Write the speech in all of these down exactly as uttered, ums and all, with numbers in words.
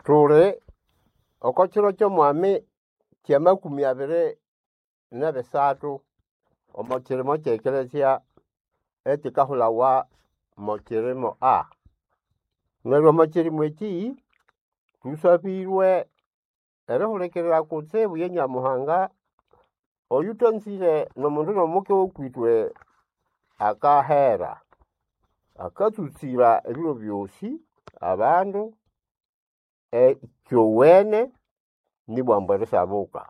Tuli oko kiro ky'omwami ky'amakumi abiri n'ebisathu omo kirimo ky'ekelezia ekikahulawa mo kirimo A. Neryo omo kirimo eki thusabirwe erihulikirira kutsibu ye Nyamuhanga oyuthanzire n'omundu n'omuke w'okwitwe akahera. Akatsutsira ebiro byosi abandu ekyowene nibwambu erisabuka.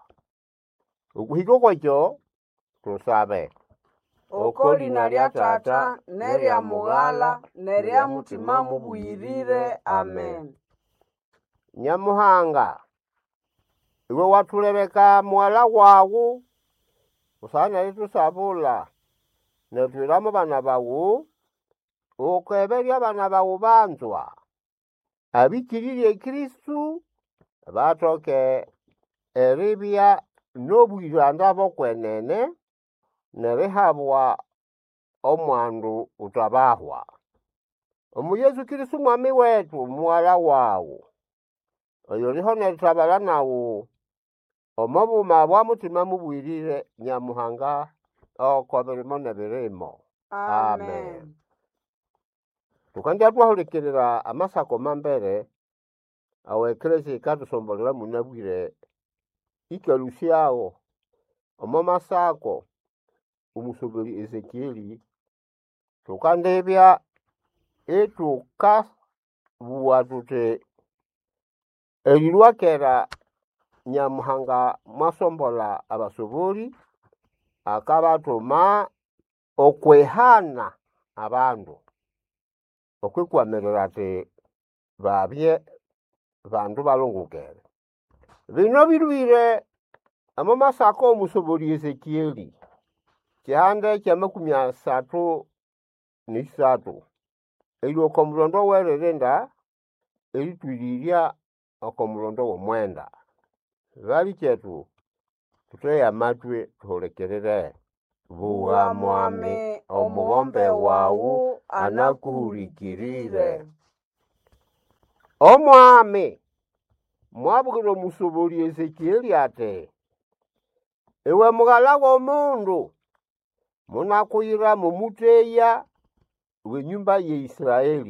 Okuhika okwekyo tusabe. Oko lina lya Tata n'erya Mughala n'erya Mutima Mubuyirire. Amen. Nyamuhanga, iwe wathulebeka mughala wawu busana n'eritusabula nerithuyira mo bana bawu, ukeberye abana bawu banzwa abĩkĩrĩrye Kristo bathoke eribya n'obwĩranda bw'okwenene n'erihabwa omwandu uthabahwa. Omu Yesu Kristo Mwami wetu mughala wawu, oyuliho n'erithabalha nawu omo buma bwa Mutima Mubuyirire Nyamuhanga oko birimo n'ebirimo. Amen. Thukandya thwahulikirira amasako mambere awo ekelezia yikathusombolera munabwire ĩkalũsyagho omo masako omusoberi Ezekieli thukandibya ithukabugha thuthi erilhwa kera Nyamuhanga mwasombolha abasobori akabathuma okwihana abandu okwikwamirira athi babye bandu balongokere. Bino bilhwire omo masako w'omusobori Ezekieli kihande ky'amakumi asathu n'isathu erilhwa oko mulondo w'eririnda erĩtwĩrĩrya oko mulondo w'omwenda. Balikyetu thuthege amatwi thuhulikirire. Bugha Mwami, omughombe wawu anakuhulikirire. Omwami mwabwira omusobori Ezekieli ati, iwe mughala w'omundu, munakuyira mw'omuteya w'enyumba ya Israeli.